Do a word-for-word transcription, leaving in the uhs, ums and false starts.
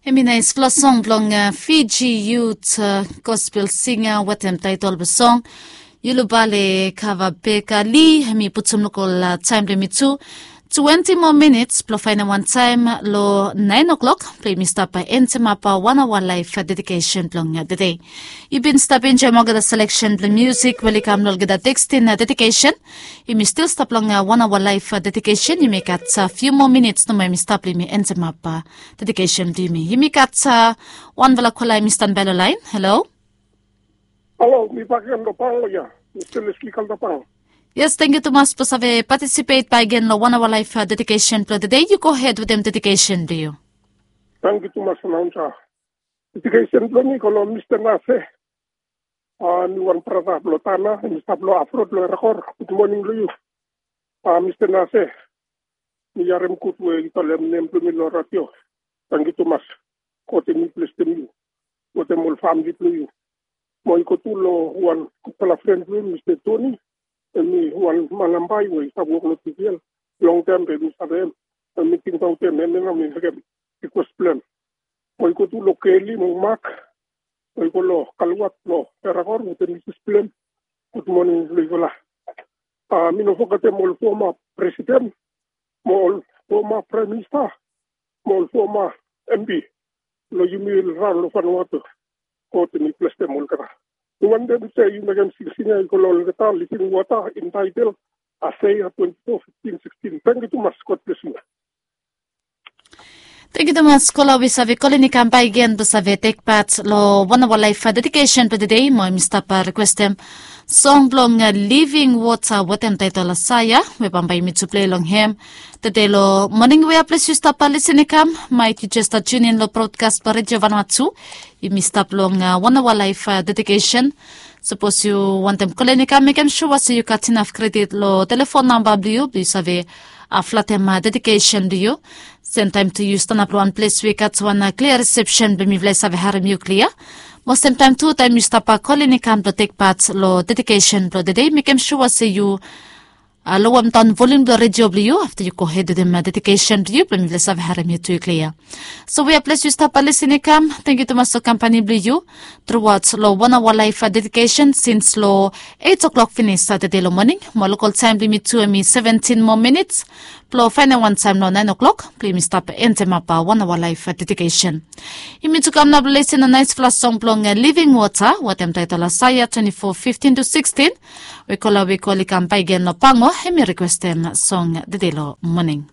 Hemi naispela song blong Fiji Youth Gospel Singer wetem taitol blong song Yulubale Kavabeka Li. Hemi putum lokol taem blong yumi tu twenti moa minits blong faenem wan taem long naen o'clock blong yumi stap entemap wan aoa laef dedikesen blong tede. Yu bin stap enjoem olgeta seleksen blong musik we oli kam long olgeta tekstin dedikesen. Yumi stil stap long wan aoa laef dedikesen. Yumi gat fiu moa minits nomo yumi stap long yumi entemap dedikesen blong yumi. Yumi gat wanfala kola yumi stanbae long laen. Halo. Halo, mi bakegen long pang ya. Mista Leski kam long pang. Yes, tangkiu tumas blong save patisipet bakegen long wan aoa laef dedikesen blong tede. Yu gohed wetem dedikesen blong yu. Tangkiu tumas anaunsa. Dedikesen blong mi i go long Mista Nase. Hemi wan brata blong Tana, hemi stap long afrod long Erakor. Gud moning long yu. Mista Nase, mi harem gud we yu talem nem blong mi long radio. Tangkiu tumas. God hemi blesem yu wetem ol famili blong yu. Mo i go tu long wan gudfala fren blong yu, Mista Toni. Hemi wan man nambai we i stap wok long T V L. Longtaem be mi save hem. Hemi tingbaot hem, hemia nao mi mekem rikwes blong hem. Mo i go tu long Keli mo Mak, mo i go long Kaluat long Erakor wetem misis blong hem. Gud moning long yufala. Mi no fogetem ol foma presiden mo ol foma praem minista mo ol foma M P blong yumi raon long Vanuatu. God hemi blesem olgeta. Mi wantem se yu mekem singsinga i go long olgeta living water entitled Isaiah twenty-four fifteen sixteen. Tangkiu tumas. God bless you. Tangkiu tumas kola we yu save kolin i kam bakegen blong save tek pat long wan aoa laef dedikesen blong tede. Mo yumi stap rikwestem song blong Living Water wetem taitol Asaia we bambae yumi tu plei long hem. Tede long moning we ya ples yu stap lisin i kam, maet yu jes stat tiunin long brodkas blong Redio Vanuatu. Yumi stap long wan aoa laef dedikesen. Sapos yu wantem kolin i kam, mekem sua se yu gat inaf kredit long telefon namba blong yu blong yu save flatem dedikesen blong yu. Semtaem tu yu stanap long wan ples we i gat wan klia risepsen blong mifala i save harem yu klia. Mo semtaem tu taem yu stap kolin i kam blong tek pat long dedikesen blong tede, mekem sua se yu lowemdaon volium blong redio blong yu afta yu gohed wetem dedikesen blong yu blong mifala i save harem yu tu klia. So we ya ples yu stap lisin i kam, tangkiu tumas long kampani blong yu truaot long wan aoa laef dedikesen sins long eit o'clock finis Satade long moning. Mo lokol taem blong yumi tu hemi seventin moa minits blong faenem wan taem long naen o'clock blong yumi stap entemap wan aoa laef dedikesen. Yumi tu kam nao blong lisin long naesfala song blong Living Water wetem taetol Asaia twenti fo fiftin tu sikstin. We kola we oli kam bakegen long pango, hemi rikwestem song tede long moning.